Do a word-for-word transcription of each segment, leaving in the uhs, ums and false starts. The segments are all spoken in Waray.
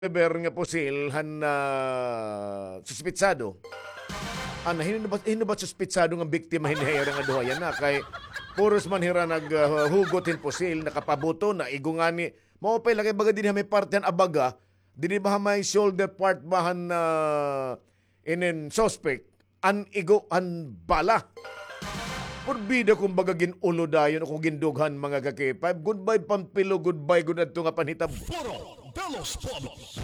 caliber nga pusil han, ah, suspitsado. Ana, hin-o ba, hin-o ba suspitsado nga biktima hini ha ira nga duha yana? Kay puros man hira nag, ah, hugot hin pusil, nakapabuto, naigo ngani. Maupay la kay baga dinhi ha may parte han abaga, dinhi ba ha may shoulder part ba han, ah, inin suspect? An igo han bala. Purbida kumbaga gin-ulo dayon o kon gindughan, mga ka-K five. Goodbye Pampilo, goodbye gud adto nga panhitabo. Foro de los Pueblos.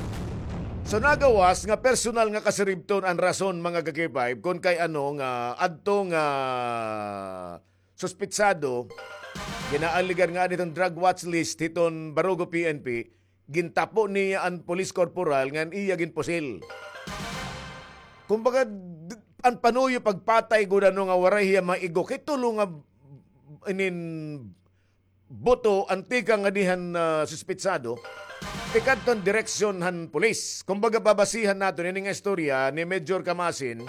So nagawas nga personal nga kasiribton an rason, mga ka-K five, kon kay ano nga adto nga suspitsado ginaaligar nga adton drug watch list hiton Barugo P N P, gintapo niya an police corporal ngan iya ginpusil. Kumbaga, d-, an panuyo pagpatay gud ano nga waray hiya maigo kay tulo nga inin buto an tikang nga dihan, ah, suspitsado. Tikadton direksyon han pulis. Kumbaga, babasihan naton ini nga istorya ni Major Kamasin,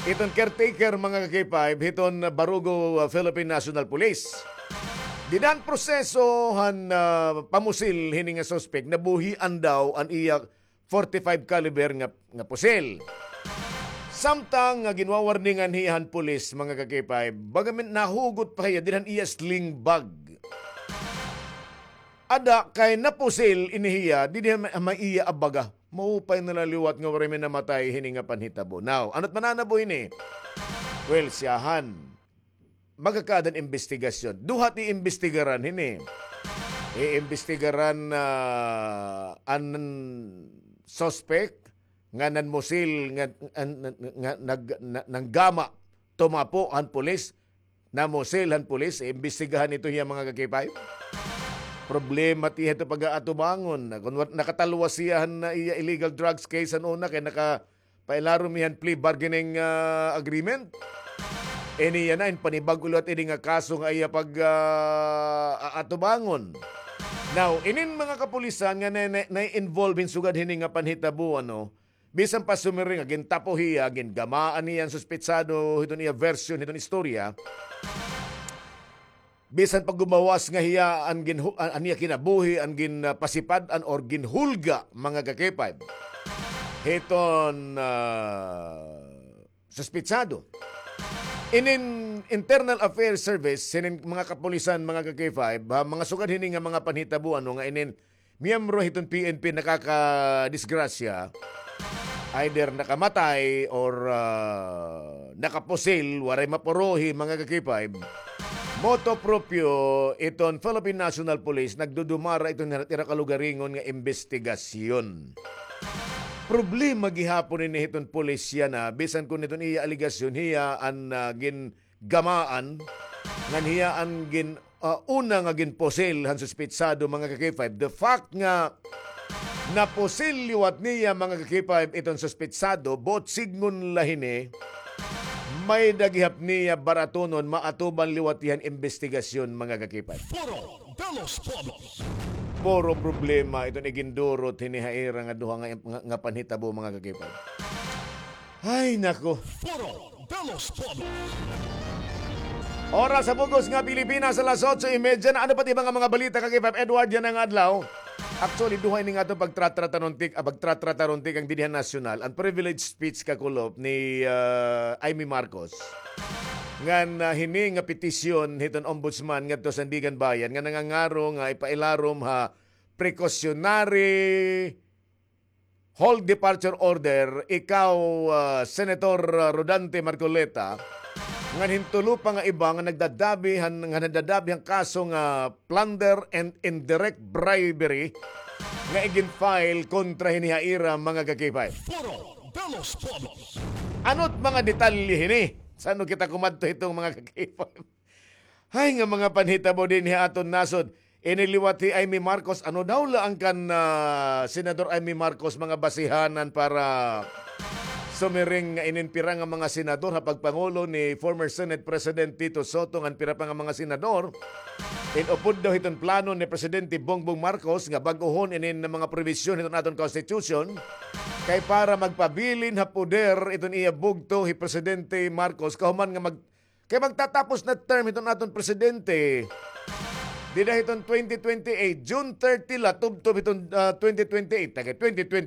iton caretaker, mga ka-K five, hiton Barugo, ah, Philippine National Police. Dida han proseso han, ah, pamusil hini nga suspek, nabuhian daw an iya forty-five caliber nga, nga pusil. Samtang nga ginwawarningan hiya han pulis, mga ka-K five, baga man nahugot pa hiya dida han iya sling bag. Ada kay napusil ini hiya dida ha may, ha may iya abaga. Maupay na la liwat nga waray man namatay hini nga panhitabo. Now, ano't mananabo hini? Well, siyahan, magkakaada an imbestigasyon. Duha it iimbestigaran hini. Iimbestigaran, ah, an suspect nga nanmusil, nga, an, nga nag-, na-, nanggama, tumapo han pulis, namusil han pulis, iimbestigahan ito hiya, mga ka-K five. Problema it iya hito pag-aatubangon. Kon wa-, nakatalwas hiya han, ah, iya illegal drugs case han una, kay naka-, pailarom hiya han plea bargaining, ah, agreement. Ini yana, in panibag-o liwat ini nga kaso nga iya pag, ah, aatubangon. Now, inin mga kapulisan nga na, na, na-involve hin sugad hini nga panhitabo, ano, bisan pa sumiring nga gintapo hiya, gingamaan hiya an suspitsado hiton iya version hiton istorya, bisan pa gumawas nga hiya an ginhu-, an, an iya kinabuhi, an gin, ah, pasipad-an or ginhulga, mga ka-K five, hiton, ah, suspitsado. Inin Internal Affairs Service, hinin mga kapulisan, mga ka-K five, ha, mga sugad hini nga mga panhitabo, ano, nga inin miyembro hiton P N P nakakadisgrasya, either nakamatay or, ah, nakapusil, waray mapuruhi, mga ka-K five. Motu proprio iton Philippine National Police, nagdudumara iton ira kalugaringon nga imbestigasyon. Problema gihapon ini hiton pulis yana, bisan kon hiton iya alegasyon, hiya an, ah, gin gamaan, ngan hiya an gin-, ah, una nga ginpusil han suspitsado, mga ka-K five. The fact nga napusil liwat niya, mga ka-K five, iton suspitsado, buot sidngon la hini, may-ada gihap niya baratunon, maatuban liwat hiya han imbestigasyon, mga ka-K five. Foro de los Pueblos. Puro problema iton igindurot hini ha ira nga duha nga, nga, nga panhitabo, mga ka-K five. Ay, nako. Foro de los Pueblos. Oras sa bug-os nga Pilipinas, alas otso y media na. Ano pa it iba nga mga balita, ka-K five Edward, yana nga adlaw? Actually, duha ini nga aton pagtratrataron tik-, ah, pagtratrataron tikang dinhi ha nasyonal, an privilege speech kakulop ni, ah, Imee Marcos. Ngan, ah, hini nga petisyon hiton ombudsman ngadto ha Sandiganbayan nga nangangaro nga ipailarom ha precautionary hold departure order, ikaw, ah, Senator, ah, Rodante Marcoleta, ngan hin tulo pa nga iba nga nagdadabi han, nga nagdadabi han kaso nga plunder and indirect bribery nga igin-file kontra hini ha ira, mga ka-K five. Foro de los Pueblos. Ano't mga detalye hini? San-o kita kumadto hiton, mga ka-K five? Hay, nga mga panhitabo dinhi ha aton nasod. Ini liwat hi Imee Marcos, ano daw la an kan, ah, Senador Imee Marcos mga basihanan para sumiring nga inin pira nga mga senador ha pagpangulo ni former Senate President Tito Sotto ngan pira pa nga mga senador in-upod daw hiton plano ni Presidente Bongbong Marcos nga bag-ohon inin mga probisyon hiton aton Constitution kay para magpabilin ha poder iton iya bugto hi Presidente Marcos kahuman nga mag- Kay magtatapos na term hiton aton presidente. Dida hiton twenty twenty-eight, June thirty la, tubtob hiton, ah, twenty twenty-eight, taga twenty twenty-eight.